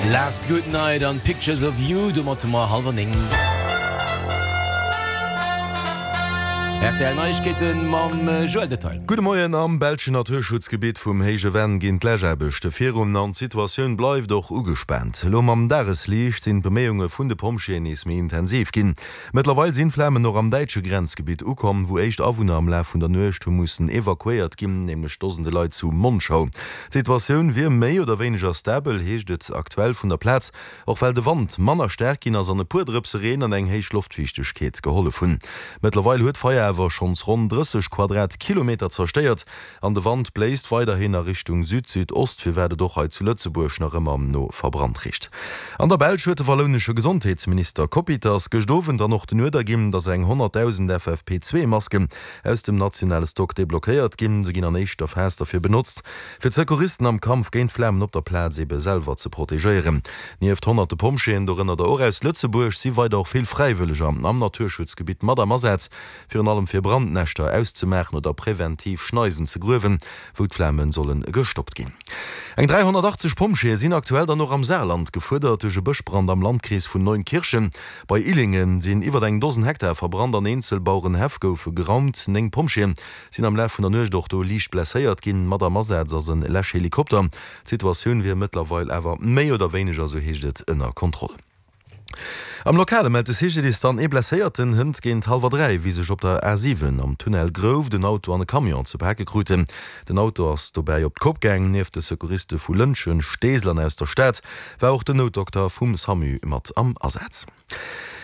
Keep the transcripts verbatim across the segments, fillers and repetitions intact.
Last Good Night an Pictures of You, domat hu mer hallwer néng. Rtl Neiegkeete mam Joël Detail. Gudde Moien, Am belschen Naturschutzgebitt vum Héije Venn ginn d'Läschaarbechte virun an d'Situatioun bleift och ugespaant. Elo mam Dagesliicht sinn d'Beméiunge vun de Pompjeeën nees méi intensiv ginn. Mëttlerweil sinn d'Flamen och am däitsche Grenzgebitt ukomm, wou éischt Awunner am Laf vun der Nuecht hu mussen evakuéiert ginn, nämlech Dosende Leit zu Monschau. D'Situatioun wier méi oder wéineger stabel, heescht et aktuell vun der Plaz, och well de Wand manner staark ginn ass an e puer Drëpse Reen an eng héich Loftfiichtegkeet gehollef hunn. Mëttlerweil huet d'Feier awer schonns ronn drësseg Quadratkilometer zerstéiert an de Wand bléist weiderhin a Richtung Süd-Südost, firwat et och hei zu Lëtzebuerg nach ëmmer no verbrannt richt. An der Belsch huet de wallounesche Gesondheetsminister Coppieters gëscht Owend dann och den Uerder ginn, datt eng honnertdausend F F P zwee Masken aus dem nationale Stock deblockéiert ginn. Se ginn an éischter Phas derfir benotzt, fir d'Secouristen am Kampf géint d'Flamen op der Plaz ebe selwer ze protegéieren. Nieft honnerte Pompjeeën, dorënner der och aus Lëtzebuerg, si weider och vill Fräiwëlleger am Naturschutzgebitt mat am Asaz, virun allem fir Brandnäschter auszemaachen oder präventiv Schneisen ze gruewen, wou d'Flame solle gestoppt ginn. Eng dräihonnertachtzeg Pompjeeë sinn aktuell dann och am Saarland gefuerdert. Duerch e Bëschbrand am Landkrees vun Neunkirchen bei Illingen sinn iwwer eng Dosen Hektar verbrannt an eenzel Bauerenhäff goufe geraumt. Néng Pompjeeë sinn am Laf vun der Nuecht och do liicht blesséiert ginn. Mat am Asaz ass e Läschhelikopter. D'Situatioun wier mëttlerweil awer méi oder wéineger, sou heescht et, ënner Kontroll. Am Lokale mellt de C G D I S dann ee Blesséierten hënt géint hallwer dräi, wéi sech op der A siwen am Tunnel Grouft en Auto an e Camion ze pake kruten. Den Auto ass dobäi op d'Kopp gaang. Nieft de Secouriste vu Lëntgen, Steesel an aus der Stad war och den Noutdokter vum SAMU mat am Asaz.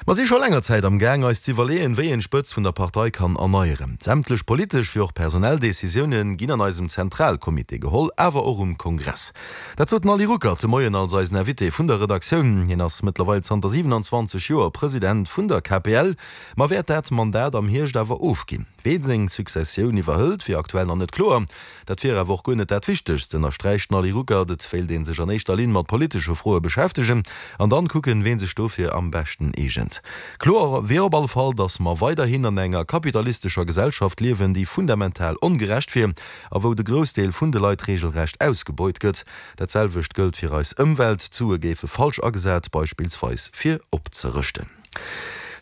Mer si scho länger Zäit am Gaang, eis z'iwwerleeën, wéi een d'Spëtzt vun der Partei kann erneieren. Sämtlech politesch wéi och personell Decisioune ginn an eisem Zentralcomité geholl, awer och um Kongress. Dat sot den Ali Ruckert de Moien als eisen Invité vun der Redaktioun. Hien ass mëttlerweil zanter siwenanzwanzeg Joer President vun der K P L, ma wäert dat Mandat am Hierscht awer ofginn. Ween seng Successioun iwwerhëlt, wier aktuell nach net kloer. Dat wier awer och guer net dat Wichtegst, ënnersträicht den Ali Ruckert. Et wéilt ee sech an éischter Linn mat politesche Froe beschäftegen an dann kucken, ween sech dofir am beschten eegent. Kloer wier op alle Fall, datt mer weiderhin an enger kapitalistescher Gesellschaft liewen, déi fundamental ongerecht wier a wou de Groussdeel vun de Leit reegelrecht ausgebeut gëtt. Dat selwecht gëllt fir eis Ëmwelt, d'Sue géife falsch agesat, beispillsweis fir opzerëschten.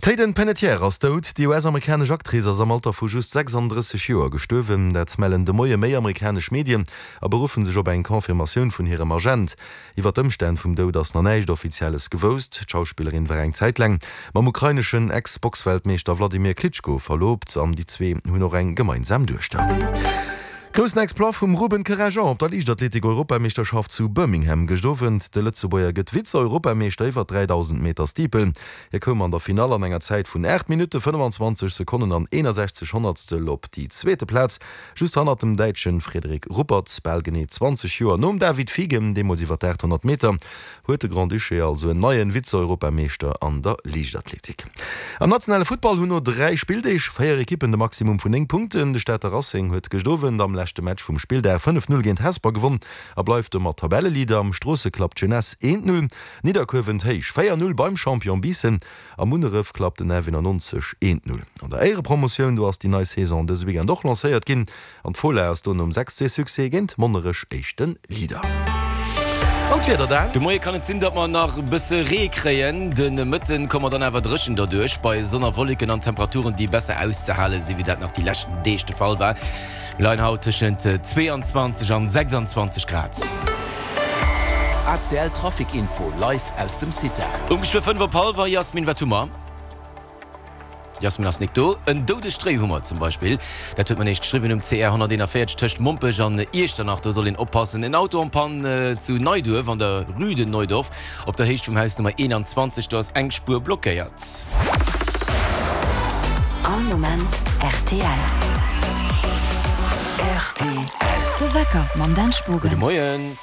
D'Hayden Panettiere ass dout. Déi U S-amerikanesch Actrice ass am Alter vu just sechsandrësseg Joer gestuerwen. Dat mellen de Moie méi amerikanesch Medien a beruffen sech op eng Confirmatioun vun hirem Agent. Iwwer d'Ëmstänn vum Doud ass nach näischt Offizielles gewousst. D'Schauspillerin war eng Zäit laang mam ukraineschen Ex-Boxweltmeeschter Wladimir Klitschko verloobt an déi zwee hunn och eng gemeinsam Duechter. Groussen Exploit vum Ruben Kerajan op der Liichtathletik-Europameeschterschaft zu Birmingham gëscht Owend. De Lëtzebuerger gëtt Vize-Europameeschter iwwer dräidausend Meter Steeple. Hie koum an der Finall an enger Zäit vun aacht Minutte, fënnfanzwanzeg Sekonnen an eenasechzeg Honnertstel op déi zweete Plaz, just hannert dem Däitsche Frederik Ruppert. Bal genee zwanzeg Joer nom David Fiegem, deemools iwwer d'aathonnert Meter, huet de Grand-Duché also en neien Vize-Europameeschter an der Liichtathletik. Am nationale Futtball hunn no dräi Spilldeeg véier Ekippen de Maximum vun néng Punkten. De Stater Racing huet gëscht Owend am leschte Match vum Spilldag fënnef null géint Hesper gewonn a bleift domat Tabelleleader. Am Stroosse klappt d'Jeunesse eent null, Nidderkuer wënnt héich véier null beim Champion Biissen a Munneref klappt den F eenannonzeg eent null. An der Éierepromotioun, do ass déi nei Saison dëse Weekend och lancéiert ginn an d'Fola ass do nom sechs zwee Succès géint Monnerech éischte Leader. An d'Wieder dann? De Moie kann et sinn, datt mer nach e bësse Ree kréien. De Mëtten komme mer dann awer dréchen derduerch, bei Sonn a Wolleken an Temperaturen, déi besser auszehale sinn, wéi dat nach déi leschten Deeg de Fall war. Mir leien haut tëschent zweeanzwanzeg an sechsanzwanzeg Grad. A C L Trafic Info live aus dem CITA. Um geschwë fënnef op hallwer, Jasmin, wat hu mer? Jasmin ass nik do. En doudegt Réi hu mer zum Beispill. Dat huet mer néischt geschriwwen um C R honnerteenavéierzeg tëscht Mompech an Iechternach. Do soll een oppassen. En Auto en panne zu Neiduerf an der Rue de Neudorf op der Héicht vum Haus Nummer eenanzwanzeg. Do ass eng Spuer blockéiert. All Moment R T L. R T L. De Wecker mam Dan Spogen. Gudde Moien.